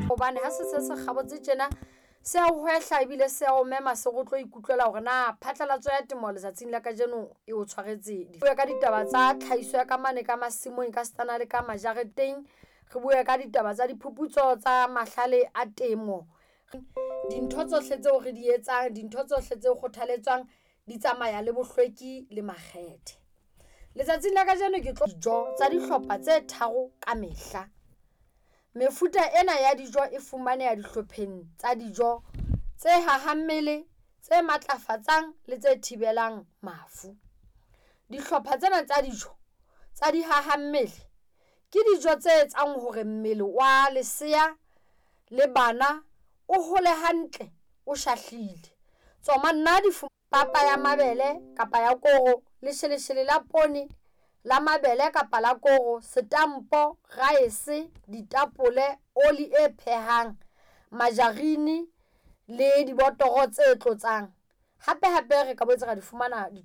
Hobane ha se se se kgabotse tjena se a hwehla ebile se a o mema se go tlo ikutlwela hore na phatlalatso ya temo letsatsing la kajeno e o tshwaretse. Bue ka ditaba tsa tlhahiso ya ka mane ka masimong ka setana le ka majareteng. Re bue ka ditaba tsa diphuputso tsa mahlale a temo. Dintho tsohle tseo re di etsang, dintho tsohle tse kgothaletswang di tsamaya le bohlweki le makgethe. Letsatsing la kajeno ke tlo dijo tsa dihlopha tse tharo ka mehla. Mefuta ena ya dijo e fumaneha dihlopheng tsa dijo tse hahang mmele, tse matlafatsang le tse thibelang mafu. Dihlopha tsena tsa dijo tsa dihaha mmele ke dijo tse etsang hore mmele wa lesea le bana o hole hantle, o shahlile. Tsoma nna di papa ya mabele kapa ya koro, lesheleshele la poone la mabele kapa la koro, setampo, rice, ditapole, oli e phehang, majarini le dibotoro tse tlotsang. Hape hape re ka boetse ra di fumana ditho.